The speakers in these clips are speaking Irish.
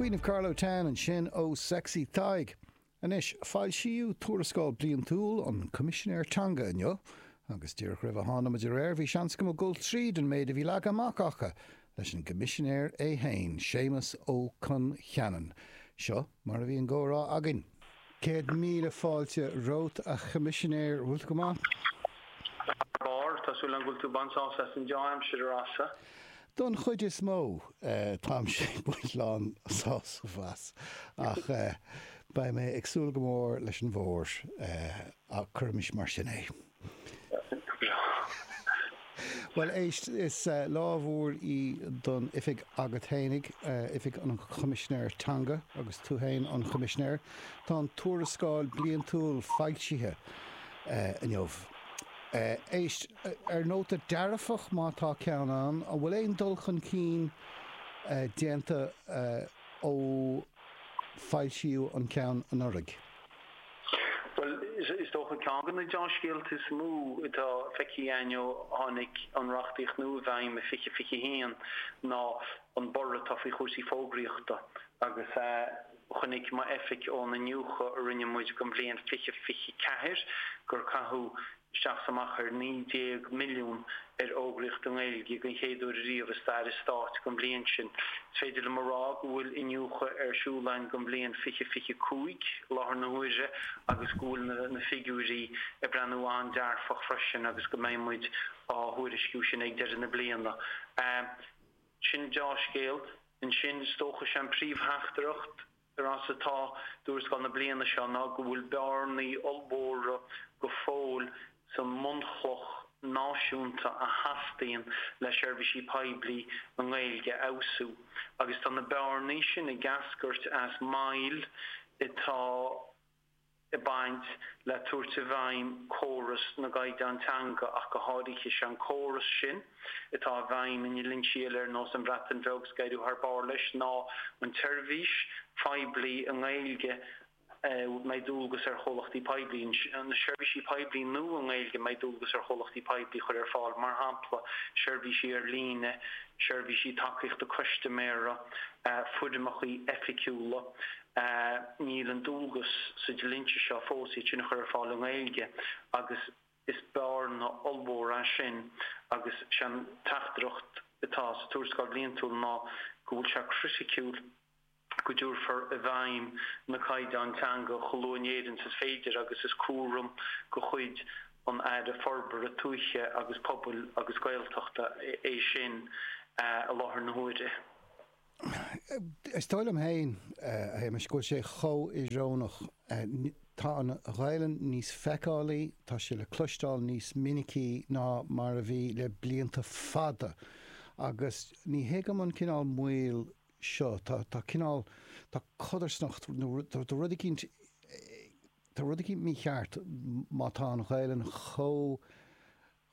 Queen of Carlow Town ansin ó Sexy Tadhg. Anois, foilsíodh tuarascáil bliantúil an Choimisinéir Teanga inniu, agus díreach roimh a tháinig muid ar aer bhí seans agam a dhul tríd an méid a bhí leagtha amach acu leis an gCoimisinéir é féin, Séamus Ó Con Cheanainn. Seo mar a bhí an gcomhrá againn. 100,000 fáilte romhat, a Choimisinéir. Bhfuil tú go maith? Thar barr. Tá súil agam go bhfuil tú ag baint sásamh as an deá-aimsir, a Rossa. Don chuid is mó, táimse ag baint lán sásamh as, ach beidh mé ag súil go mór leis an bhfómhar, cuirimis mar sin é. Go breá. Bhuel, éist, is lá mhór í don oifig agat fhéinig, Oifig an Choimisinéir Teanga, agus tú fhéin an Choimisinéir. Tá an tuarascáil bliantúil foilsithe inniu. Éist, ar nóta dearfach, má tá ceann ann, an bhfuil aon dul chun cinn déanta ó foilsíodh an ceann anuraidh? Bhuel, is dócha ceann de na deá-scéalta is mó atá feicthe againn ó tháinig an reachtaíocht nua i bhfeidhm i 2021 ná an borradh atá faoi chúrsaí fógraíochta agus chonaic m'oifig ón iniúchadh a rinne muid don bhliain 2024 gur caitheadh isteach is amach ar 19 milliún ar fhógraíocht i nGaeilge den chéad uair ariamh i stair an stáit don bhliain sin. Is féidir liom a rá go bhfuil iniúchadh ar siúl againn don bhliain 2025 i láthair na huaire agus go bhfuil na figiúirí ag breathnú an-dearfach freisin agus go mbeidh muid á thuairisciú sin ag deireadh na bliana. Sin deá-scéal. Ansin, is dócha, is é an príomhtheachtaireacht a Rossa atá i dtuarascáil na bliana seo ná go bhfuil bearnaí ollmhóra go fóill sa mbunchloch náisiúnta a theastaíonn le seirbhísí poiblí i nGaeilge a fheabhsú agus tá na bearnaí sin ag eascairt as moill atá ag baint le tabhairt i bhfeidhm córas na gcaighdeán teanga ach go háirithe. Is é an córas sin atá i bhfeidhm i ndlínsí eile ar nós an Bhreatain Bheag is ag éirí thar barr leis ná an tseirbhís phoiblí i nGaeilge a mbeidh dualgas ar chomhlachtaí poiblí, na seirbhísí poiblí nua i nGaeilge a mbeidh dualgas ar chomhlachtaí poiblí a chur ar fáil, mar shampla seirbhísí ar líne, seirbhísí tacaíochta custaiméara, foirmeacha oifigiúla. Níl an dualgas sa dlínse seo fós iad sin a chur ar fáil i nGaeilge agus is bearna ollmhór é sin agus sé an teachtaireacht atá sa tuarascáil bhliantúil ná go bhfuil sé criticiúil go dtabharfar i bhfeidhm na caighdeáin teanga chomh luath in Éirinn is is féidir agus is cúram de chuid an Aire Forbartha Tuaithe agus Pobail agus Gaeltachta é sin i láthair na huaire. Is dóigh liom féin, a Shéamais, go bhfuil sé chomh íorónach. Tá an Ghaelainn níos feiceálaí, tá sé le cloisteáil níos minicí ná mar a bhí le blianta fada agus ní thuigim an cineál moill seo. Tá, tá cineál, tá codarsnacht nó tá rud eicínt, tá rud eicínt mícheart má tá an Ghaelainn chomh,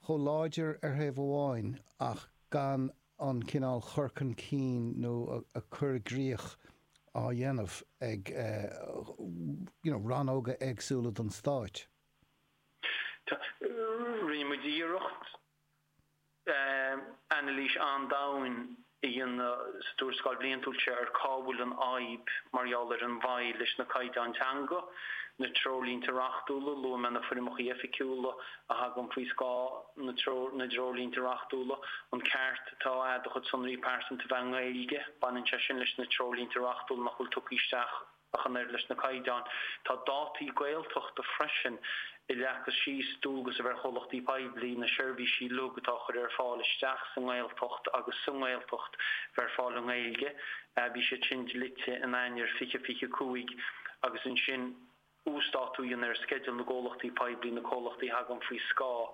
chomh láidir ar thaobh amháin ach gan an cineál chur chun cinn nó a cur i gcrích á dhéanamh ag you know rannóga éagsúla den stáit. Rinne muid iarracht anailís an-domhain a dhéanamh sa tuarascáil bhliantúil seo ar cá bhfuil an fhadhb mar gheall ar an mhoill leis na caighdeáin teanga, na treoirlínte reachtúla, luaigh mé na foirmeacha oifigiúla a thagann faoi scáth na dtreoirlínte reachtúla, an ceart atá agat do chuid sonraí pearsanta a bheith i nGaeilge, baineann sé sin leis na treoirlínte reachtúla nach bhfuil tugtha isteach ach an oiread leis na caighdeáin. Tá dátaí Gaeltachta freisin a leagfas síos dualgas a bheith ar chomhlachtaí poiblí na seirbhísí uilig atá á chur ar fáil isteach sa nGaeltacht agus sa nGaeltacht bheith ar fáil i nGaeilge. Bhí siad sin dlite in Eanáir 2025 agus ansin uasdátú a dhéanamh ar sceideal na gcomhlachtaí poiblí, na comhlachtaí a thagann faoi scáth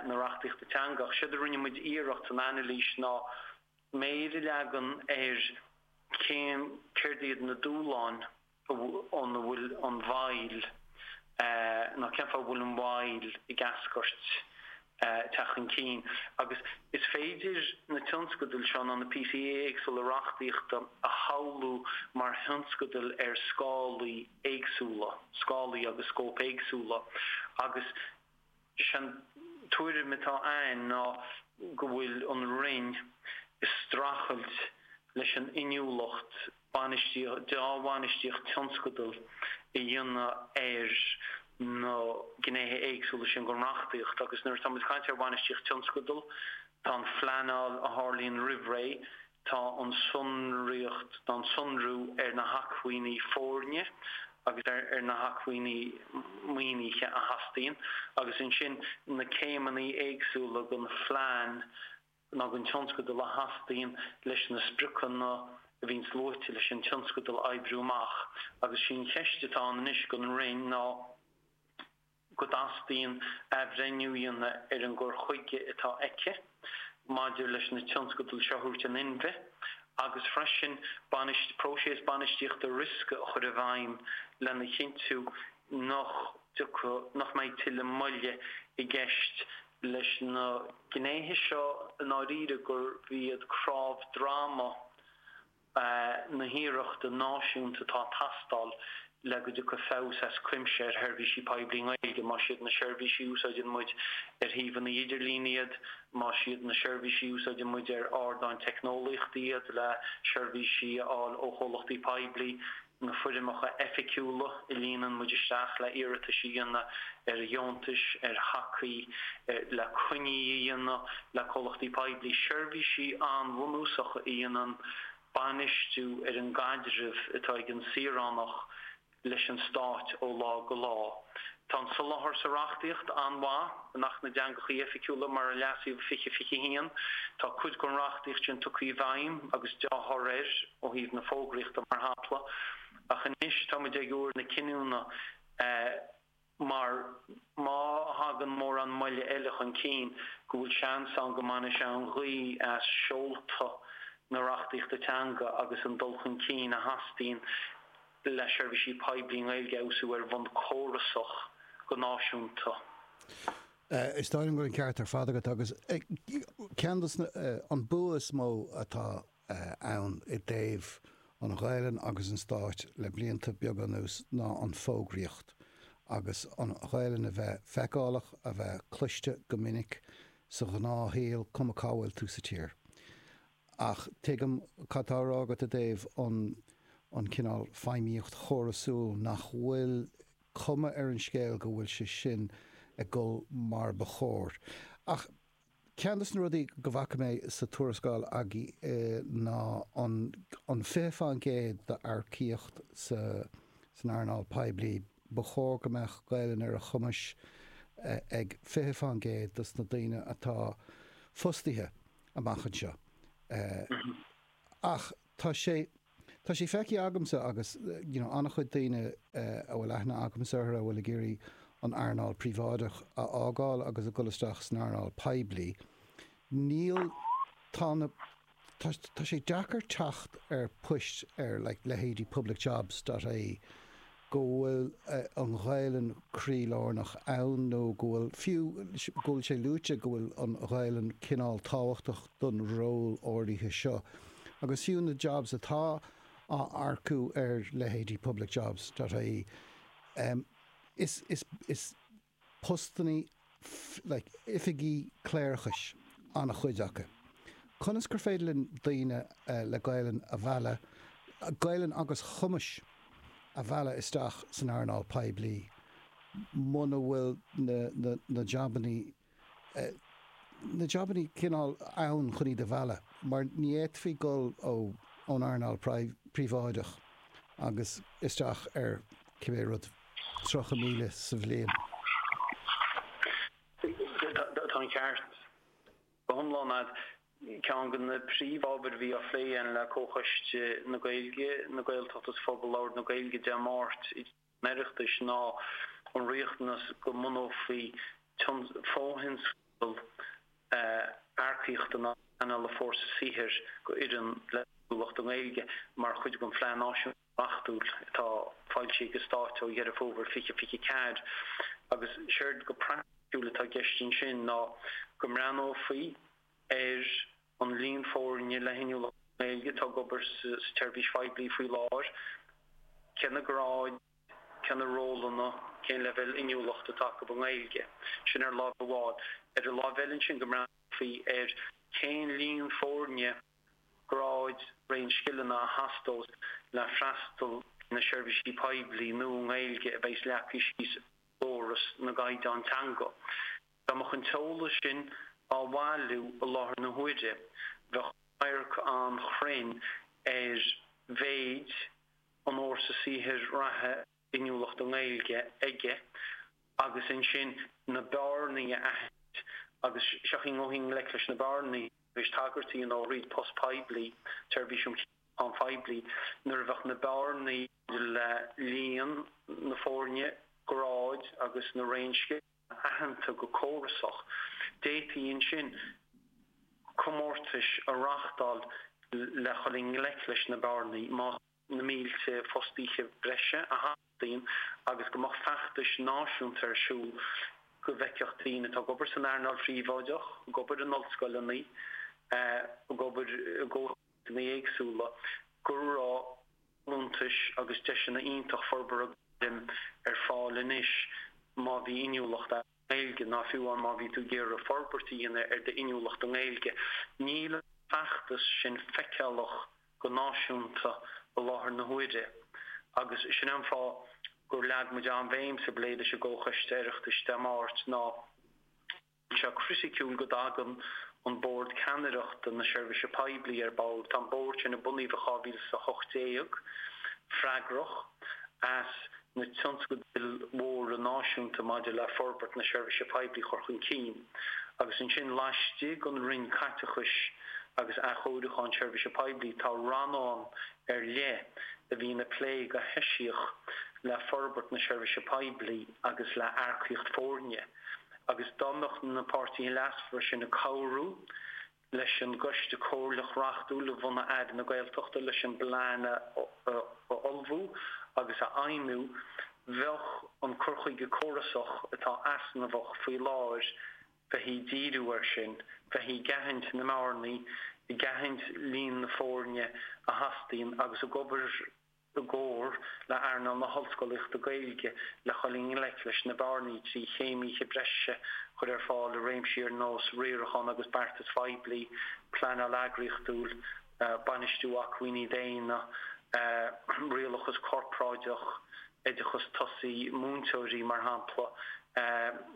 na reachtaíochta teanga. Ach séard a rinne muid iarracht san anailís ná méar a leagan ar cén, céard iad na dúshláin óna bhfuil an mhoill, nó cén fáth a bhfuil an mhoill ag eascairt. teacht chun cinn agus is féidir na tionscadail seo nó na píosaí éagsúla reachtaíochta a shamhlú mar thionscadail ar scálaí éagsúla, scálaí agus scóip éagsúla agus is é an tuairim atá againn ná go bhfuil an Roinn ag streachailt. Leis an inniúlacht bainistíocht, dea-bhainistíocht tionscadal a dhéanamh ar na gnéithe éagsúla sin den reachtaíocht. Agus nuair atá muid ag caint ar bhainistíocht tionscadal, tá an phleanáil a tharlaíonn roimh ré, tá an tsonraíocht, tá an sonrú ar na hacmhainní foirne agus ar na hacmhainní maoinithe a theastaíonn, agus ansin na céimeanna éagsúla den phlean nó den tionscadal a theastaíonn leis na spriocanna a bhíonns luaite leis an tionscadal a oibriú amach. Agus sí an cheist atá ann anois don Roinn ná go dteastaíonn athbhreithniú a dhéanamh ar an gcur chuige atá aici maidir leis na tionscadail seo a thabhairt in inmhe agus freisin próiseas bainistíochta riosca a chur i bhfeidhm lena chinntiú nach dtiocfaidh, nach mbeidh tuilleadh moille i gceist leis na gnéithe seo i ndáiríre gurb iad cnámh droma na hiarrachta náisiúnta atá ag teastáil le go dtiocfaidh feabhas as cuimse ar sheirbhísí poiblí i nGaeilge, más iad na seirbhísí a úsáideann muid ar shuíomhanna idirlín iad, más iad na seirbhísí a úsáideann muid ar ardáin teicneolaíochta iad le seirbhísí a fháil ó chomhlachtaí poiblí. na foirmeacha oifigiúla a líonann muid isteach le iarratais a dhéanamh ar dheontais, ar thacaí, le coinní a dhéanamh le comhlachtaí poiblí, seirbhísí an-bhunúsacha a dhéanann bainistiú ar an gcaidreamh atá ag an saoránach leis an Stát ó lá go lá. Tá an soláthar sa reachtaíocht an-mhaith in Acht na dTeangacha Oifigiúla mar a leasaíodh i 2021. Tá cuid den reachtaíocht sin tugtha i bhfeidhm agus dea-thoradh air ó thaobh na fógraíochta mar shampla. Ach anois tá muid ag uair na cinniúna mar má thagann mórán moille eile chun cinn go bhfuil seans ann go mbainfidh sé an ghaoth as seolta na reachtaíochta teanga agus an dul chun cinn a theastaíonn le seirbhísí poiblí i nGaeilge a fheabhsú ar bhonn córasach go náisiúnta. Is dóigh liom go bhfuil an ceart ar fad agat agus ceann de na, an bua is mó atá ann i dtaobh an Ghaelainn agus an Stáit le blianta beaga anuas ná an fógraíocht agus an Ghaelainn a bheith feiceálach, a bheith cloiste go minic sa ghnáthshaol, cuma cá bhfuil tú sa tír. Ach tuigim cad tá á rá agat i dtaobh an an cineál feidhmíocht chórasúil nach bhfuil cuma ar an scéal go bhfuil sé sin ag dul mar ba chóir. Ach ceann de na rudaí go bhfaca mé sa tuarascáil agaibh ná an an 20% d'earcaíocht sa san earnáil poiblí, ba chóir go mbeadh Gaelainn ar a chumais ag 20% dos na daoine atá fostaithe. amach anseo. Ach tá sé, tá sé feicthe agamsa agus you know an-chuid daoine a bhfuil aithne agamsa orthu a bhfuil ag iarraidh an earnáil príobháideach a fhágáil agus a dhul isteach san earnáil poiblí, níl, tá na, tá, tá sé deacair teacht ar poist ar like leithéidí publicjobs dot ie go bhfuil an Ghaelainn croílárnach ann nó go bhfuil, fiú, go bhfuil sé luaite go bhfuil an Ghaelainn cineál tábhachtach don ról áirithe seo. Agus fiú na jobs atá á earcú ar leithéidí publicjobs dot ie, is, is, is postannaí like oifigí cléireachais an-chuid acu. Conas gur féidir linn daoine le Gaelainn a mhealladh, Gaelainn agus cumais a mhealladh isteach san earnáil poiblí muna bhfuil na, na, na jabannaí, na jabannaí cineál ann chun iad a mhealladh mar ní fhéadfaí dul ó, ón earnáil príobháideach agus isteach ar cibé rud. 30,000 sa bhliain. Tá an ceart go hiomlán agat. Ceann de na príomhábhair a bhí á phlé againn le Comhchoiste na Gaeilge, na Gaeltachta agus Phobal Labhartha na Gaeilge Dé Máirt i dTigh an Oireachtais ná an riachtanas go mbunófaí fo-thionscadal earcaíochta nó pleanála fórsa saothair go fhoireann le hinniúlacht i nGaeilge mar chuid den Phlean Náisiúnta. Reachtúil atá foilsithe ag an Stát ó Dheireadh Fómhair 2024 agus séard go praiticiúil atá i gceist ansin ná go mbreathnófaí ar an líon foirne le hinniúlacht i nGaeilge atá ag obair sa tseirbhís phoiblí faoi láthair, cé na gráid, cé na rólanna, cén leibhéal inniúlachta atá acu i nGaeilge. Sin ar láimh amháin. Ar an láimh eile ansin go mbreathnófaí ar cén líon foirne. gráid, raon scileanna a theastós le freastal ar na seirbhísí poiblí nua i nGaeilge a bheas leagtha síos i gcóras na gcaighdeán teanga. Dá mbeadh an t-eolas sin á bhailiú i láthair na huaire, bheadh radharc an-chruinn ar mhéid an fhórsa saothair reatha inniúlacht i nGaeilge aige agus ansin na bearnaí a aithint agus seo í an dul i ngleic leis na bearnaí tar éis tagairt a dhéanamh ó thríd post poiblí, Seirbhís um Cheapacháin Phoiblí, nuair a bheadh na bearnaí maidir le líon na foirne, gráid agus na raon scileanna aitheanta go córasach, d'fhéadfaí ansin comórtais a reáchtáil le dhul i ngleic leis na bearnaí. Más. na mílte fostaithe breise a theastaíonn agus go mbeadh feachtais náisiúnta ar siúl go bhfeicfeadh daoine atá ag obair san earnáil phríobháideach, ag obair in ollscoileanna, ag obair i gcomhlachtaí éagsúla, go raibh folúntais agus deiseanna iontach forbartha gairme ar fáil anois má bhí inniúlacht agat. Gaeilge, ná fiú amháin má bhí tú ag iarraidh forbairt a dhéanamh ar d'inniúlacht i nGaeilge. Níl an feachtas sin feiceálach go náisiúnta i láthair na huaire agus sin é an fáth gur leag muid an-bhéim sa bplé leis an gComhchoiste Oireachtais Dé Máirt ná go bhfuil sé criticiúil go dtagann an Bord Ceannaireachta na Seirbhíse Poiblí ar ball. Tá an Bord sin a bunaíodh i 2018 freagrach as na tionscadail mhóra náisiúnta maidir le forbairt na seirbhíse poiblí a chur chun cinn, agus ansin laistigh den Roinn Caiteachais agus Athchóiriúcháin Seirbhíse Poiblí tá rannán ar leith a bhíonn ag plé go heisiach le forbairt na seirbhíse poiblí agus le earcaíocht foirne agus dá mbeadh na páirtithe leasmhara sin ag cabhrú leis an gCoiste Comhairleach reachtúil a bhunaigh Aire na Gaeltachta leis an bplean a ullmhú agus a fheidhmiú, bheadh an cur chuige córasach atá easnamhach faoi láthair, bheifí ag díriú air sin, bheifí ag aithint na mbearnaí, ag aithint líon na foirne a theastaíonn agus ag obair i gcomhar le hearnáil na hollscolaíochta Gaeilge le dhul i ngleic leis na bearnaí trí chéimithe breise a chur ar fáil i réimsí ar nós riarachán agus beartais phoiblí, pleanáil eagraíochtúil, bainistiú acmhainní daonna, rialachas corparáideach, oideachas tosaigh múinteoirí, mar shampla,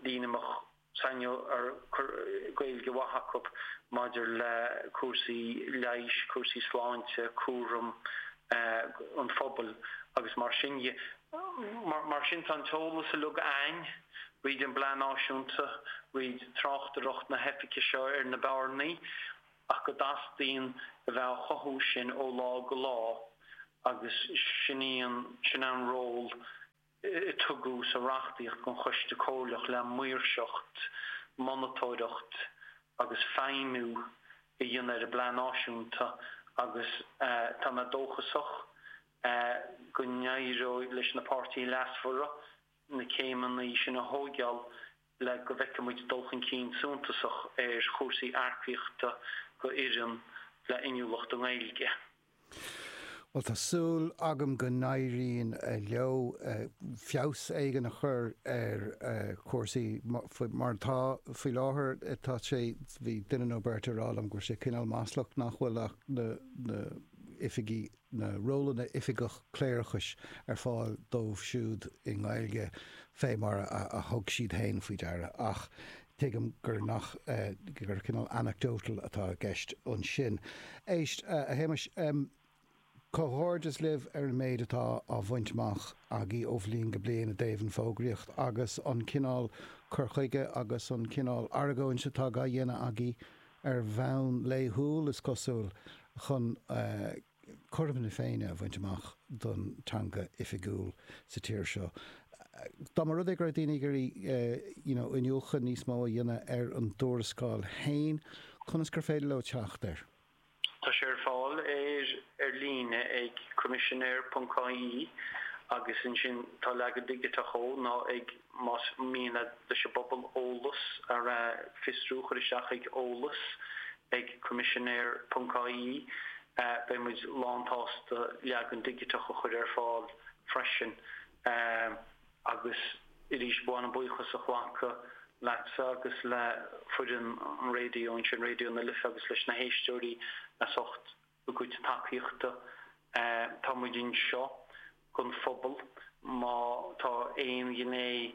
daoine a mbeadh Gaeilge mhaith acu maidir le cúrsaí leighis, cúrsaí sláinte, cúram an phobail agus mar sin dhe. Mar sin tá an t-eolas uilig a'ainn, fríd an bPlean Náisiúnta, fríd tráchtaireacht na hoifige seo ar na bearnaí, ach go dteastaíonn a bheith á chothú sin ó lá go lá agus sin í an, sin é an ról a tugadh sa reachtaíocht don Choiste Comhairleach le maoirseacht, monatóireacht agus feidhmiú a dhéanamh ar an bPlean Náisiúnta agus tá mé dóchasach go n-éireoidh leis na páirtithe leasmhara na céimeanna sin a thóigeáil le go bhfeicfidh muid dul chun cinn suntasach ar chúrsaí earcaíochta go fhoireann le inniúlacht i nGaeilge. Bhuel, tá súil agam go n-éiríonn leo feabhas éigin a chur ar chúrsaí mar atá faoi láthair. Tá sé, bhí duine nó beirt ag rá liom go raibh sé cineál maslach nach bhfuil ach na oifigí, na rólanna oifigeach cléireachais ar fáil dóibh siúd i nGaeilge fé mar a thug siad féin faoi deara. Ach Tuigim gur nach, gur cineál anecdotal atá i gceist ansin. Éist, a Shéamais, comhghairdeas libh ar an méid atá á bhaint amach agaibh ó bhliain go bliain i dtaobh an fógraíocht agus an cineál cur chuige agus an cineál argóint atá á dhéanamh agaibh ar bhonn laethúil, is cosúil, chun cothrom na Féinne a bhaint amach don teanga oifigiúil sa tír seo. Dá mba rud é go raibh daoine ag iarraidh you know iniúchadh níos mó a dhéanamh ar an dtuarascáil féin, conas gur féidir leo teacht air? Tá sé ar fáil ar ar líne ag coimisinéir.ie agus ansin tá leagan digiteach dhó nó ag más mian leis an bpobal eolas a fiosrú cuir isteach ag eolas ag coimisinéir.ie. Beidh muid lánsásta leagan digiteach a chur ar fáil freisin. Agus arís ba mhaith liom buíochas a ghlacadh leatsa agus le foireann an raidió ansin, Raidió na Life agus leis na héisteoirí as ucht. A gcuid tacaíochta. Tá muid anseo don phobal. Má tá aon ghné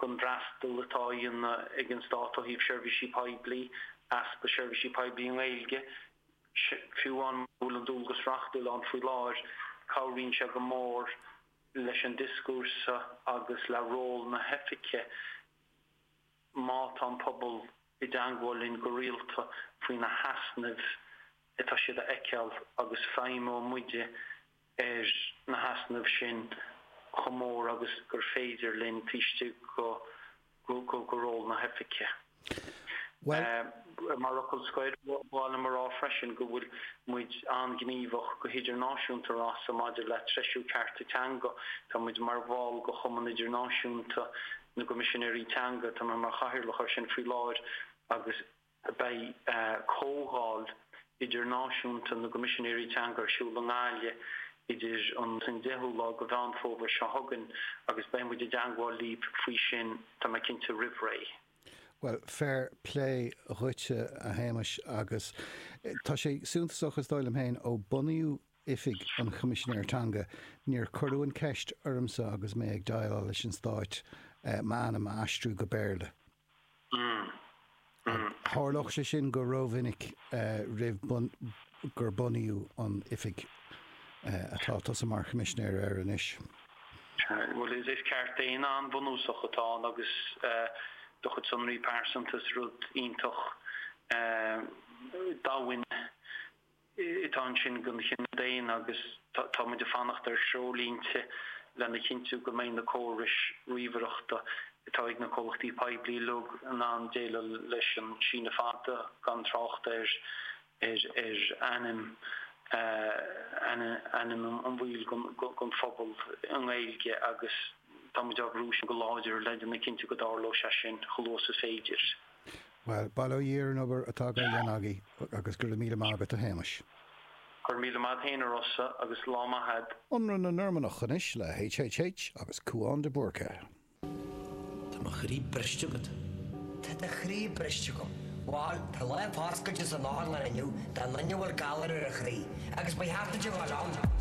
den bhfreastal atá á dhéanamh ag an Stát ó thaobh seirbhísí poiblí, easpa seirbhísí poiblí i nGaeilge, fiú amháin mura bhfuil an dualgas reachtúil ann faoi láthair, cabhraíonn sé go mór leis an dioscúrsa agus le ról na hoifige. Má tá an pobal i dteangmháil linn go rialta faoi na heasnaimh atá siad a fheiceáil agus feidhmeoidh muide ar na heasnaimh sin chomh mór agus gur féidir linn taobh istigh de ról na hoifige. Mar fhocal scoir, ba mhaith liom a rá freisin go bhfuil muid an-ghníomhach go hidirnáisiúnta, a Rossa, maidir le treisiú cearta teanga. Tá muid mar bhall de Chumann Idirnáisiúnta na gCoimisinéirí Teanga, tá mé mar chathaoirleach air sin faoi láthair, agus beidh comhdháil idirnáisiúnta na gCoimisinéirí Teanga ar siúl i nGaillimh idir an 10ú lá de Mheán Fómhair seo chugainn agus beidh muid i dteangmháil libh faoi sin, tá mé cinnte, roimh ré. Bhuel, fair play dhuitse, a Shéamais, agus tá sé suntasach, is dóigh liom féin, ó bunaíodh Oifig an Choimisinéir Teanga, níor cuireadh an ceist ormsa agus mé ag déileáil leis an Stáit m'ainm a aistriú go Béarla. Tharlódh sé sin go rómhinic roimh gur bunaíodh an oifig atá tusa mar Choimisinéir air anois. Bhuel, is ceart daonna an-bhunúsach atá ann agus do chuid sonraí pearsanta is rud iontach domhain atá ansin don chine daonna agus tá muid ag fanacht ar threoirlínte lena chinntiú go mbeidh na córais ríomhaireachta atá ag na comhlachtaí poiblí uilig in ann déileáil leis an síneadh fada, gan trácht ar ar ainm ainm an bhaill den phobal i nGaeilge agus tá muid á bhrú sin go láidir le déanamh cinnte go dtarlóidh sé sin chomh luath is is féidir. Bhuel, bail ó Dhia ar an obair atá á dhéanamh agaibh agus go raibh míle maith agat a Shéamais. Go raibh míle maith a't fhéin a Rossa agus lá maith a'd. Ionradh na Normannach anois le HHH agus Cúán de Búrca. Tá mo chroí briste agat. Tá do chroí briste agam. Bhal, tá lá foscailte san otharlann inniu don duine a bhfuil galar ar a chroí, agus ba cheart duit a dhul ann.